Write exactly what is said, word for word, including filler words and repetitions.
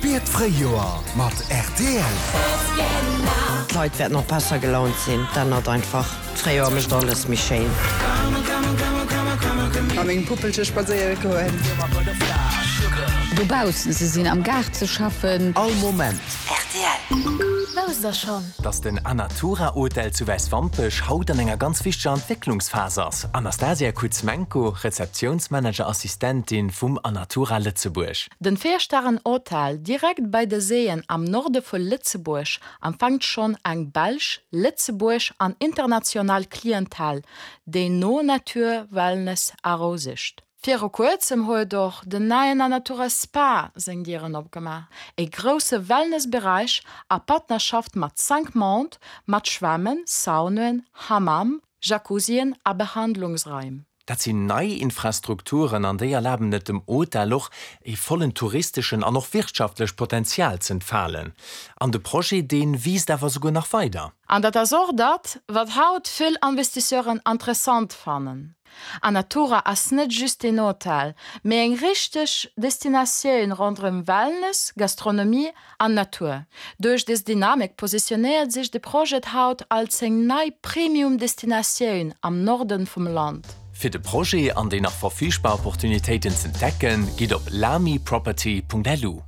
Spier d'Fréijoer mat rtl. D'Leit wäerten och besser gelaunt sinn, dat ännert einfach. D'Fréijoer mécht alles méi schéin. Mat mengem Puppelche spadséiere goen. Dobaussen ze sinn, am Gaart ze schaffen. All Moment. Rtl. Wousst der schonn? Dass den Anatura Hotel zu Wäiswampech haut an enger ganz wichteger Entwécklungsphas ass. Anastasia Kuzmenko, Rezeptiounsmanager-Assistentin vum Anatura Lëtzebuerg. Den Véier-Stären-Hotel direkt bei de Séien am Norde vu Lëtzebuerg empfänkt schonn eng belsch, lëtzebuergesch an international Clientèle, déi no Natur, Wellness a Rou sicht. Viru kuerzem huet och den neien Anatura Spa seng Dieren opgemaach, e grousse Wellnessberäich a Partnerschaft mat Cinq Mondes, mat Schwämmen, Saunaen, Hammam, Jacuzzien a Behandlungsraim. Dat sinn nei Infrastrukturen an déi erlaben et dem Hotel och, e vollen touristeschen an och wirtschaftlech Potenzial z'entfalen. An de Projet, dee wiisst awer souguer nach weider. An dat ass och dat, wat haut vill Investisseuren interessant fannen. Anatura ass net just een Hotel, mee eng richteg Destinatioun ronderëm Wellness, Gastronomie an Natur. Duerch dës Dynamik positionéiert sech de Projet haut als eng nei Premium-Destinatioun am Norden vum Land. Fir de Projet an déi nach verfügbar Opportunitéiten z'entdecken, gitt op lamiproperty.lu.